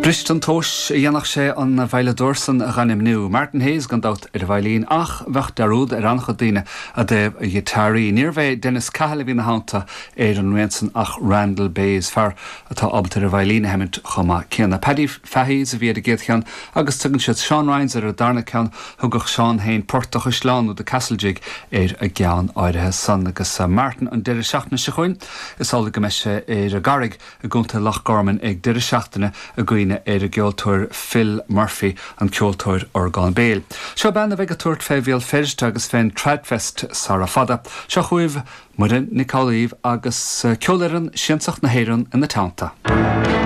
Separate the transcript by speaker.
Speaker 1: Briste an tomhas a dhéanfadh sé an veidhleadóir san a dh'ainmniú. Martin Hayes gan dabht ar an veidhlín ach bheadh dearúd ar an-chuid daoine i dtaobh a ghiotáraí. Níorbh é Dennis Cahill a bhí ina theannta ar an rian san ach Randal Bayes, fear atá ábalta ar an veidhlín a sheimint chomh maith céanna. Paddy Fahy's a bhí ar an gcéad cheann agus tugann siad Seán Ryan's ar an darna ceann. Thugadh Seán féin Port a' Chaisleáin nó The Castle Jig ar an gceann áirithe san. Agus Martin an deireadh seachtaine seo chugainn, is amhlaidh go mbeidh sé ar an gCarraig i gContae Loch Garman ag deireadh seachtaine i gcuimhne ar an gceoltóir Phil Murphy, an ceoltóir orgán béil. Seo bean a bheidh ag tabhairt fé Bhéal Feirste agus fén Tradfest sara fada. Seo chugaibh Muireann Nic Amhlaoibh agus Ceolfhoireann Siansach na hÉireann ina teannta.